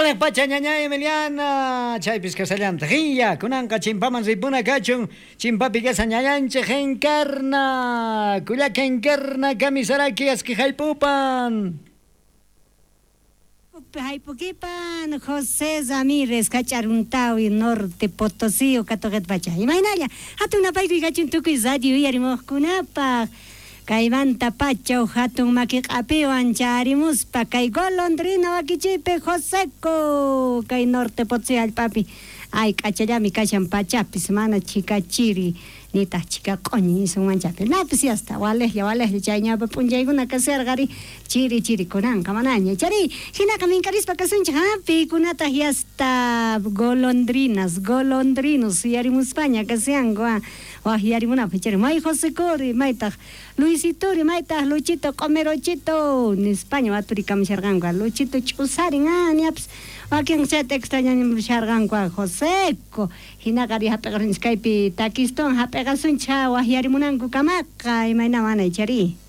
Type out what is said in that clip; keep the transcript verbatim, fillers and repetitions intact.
Waliq pacha ñañay Emiliana, chaypis kasallantaq iya, kunanqa chimpaman ripuna kachun, chimpapi kasa ñañanchik Encarna, kullaka Encarna kamisaraki aski haypupan. Haypukipan José Ramírez kach'aruntawi Norte Potosí katuqet pacha. Imaynalla hatun napaykuy kachun tukuy radio uyarimuqkunapaq. Kaymanta pacha hatun makiq'apiwan charimuspa kay golondrina wakichipi Joseco kay Norte Potosí allpapi. Ay k'achallami kashan pachapis mana chikachiri nitaq chika q'uñi isunmanchapi. Napis yasta walejlla walejlla chay ñawpa p'unchaykuna kasharqari chiri chiri kunanqa manaña chari hinaqa minkarispa kasunchik ha pikunataq yasta golondrinas golondrinos yarimuspaña kasyanku ha waj yarimunapaq chari may Josecori maytaq Luisitori maytaq Luchito q'umirochito nispaña waturikamusharqanku Luchito ch'usarin ha ñapis wakin chayta extrañamusharqanku Joseco hinaqa ri hap'iqasunchik kaypi takiston hap'iqasunchik waj yarimunanku kamaqa imayna mana chari.